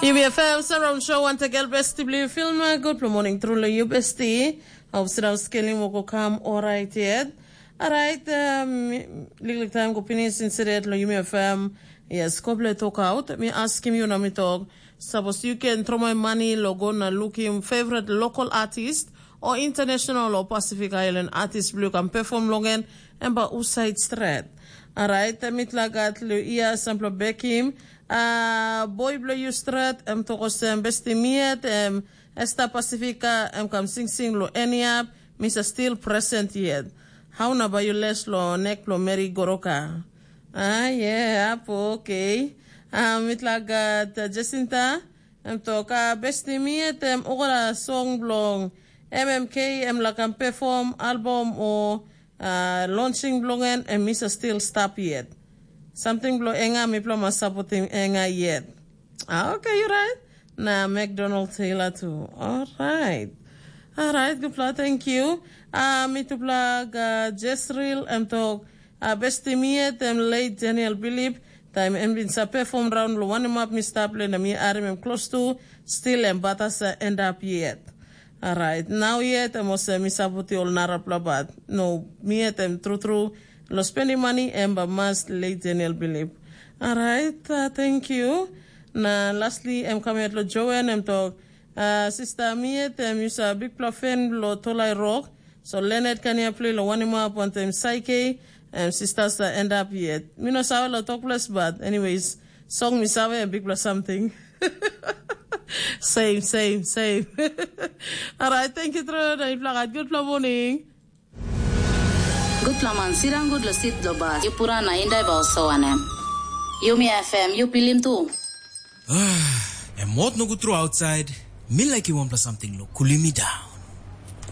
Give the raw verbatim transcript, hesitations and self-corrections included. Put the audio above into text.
Yumi F M Surround Show, wantakel besti bilong film. Good morning, truly you besti. Hope sira skelim woko kam orait yet. Alright, um, liklik time go finish instead lo Yumi F M. Yes, koble talk out. Mi askim you na mi talk. Suppose you can throw my money lo go na looking favorite local artist or international or Pacific Island artist biluk am perform longen and ba uside stret. Alright, mit lagat lo ia sampla bekim. Uh, boy bilong you stret, em tokosem besti miet, em Esta Pacifica, em kam singsing lo eniap, misa still present yet. Hau na ba you les lo nek lo Mary Goroka. Ah, yeah, apo, okay. Ah, mit lagat uh, Jacinta, em toka besti miet, em okra song bilong M M K, em lakam perform album o uh, launching bilong en, em misa still stap yet. Something bilong enga, mipela mas sapotim enga yet. Ah, okay, you right. Na McDonald Taylor tu. Alright. Alright, gupla, thank you. Ah, mitupla ga Jesril em tok, ah, besti miet em late Daniel Bilip, taim em bin sa perform raun lo wanem ap mi stap le na mi arim em close tu, still em batasa end up yet. Alright, nau yet em olsem mi saputi ol narapela bat. No, mi yet em trutru, lo spending money em ba mas late Daniel Bilip. Alright, uh, thank you. Na lastly, em kam yet lo Joen, em tok, uh, sista mi yet em yusa bikpela fen lo tolai rok. So Leonard kan ya play lo wanim ap wantem Saike, em sista sa end up yet. Mi no save lo tok ples, but anyways, song mi save em bikpela something. Same, same, same. Alright, thank you, Tro. Na yupela gat gutpela morning. Gutpela man sirang gut lo sit lo bas. Yupura na indai ba oso wanem. Yumi F M, yu pilim tu. Em mot nogut tru outside. Mi like you wanpela something lo kulimi down.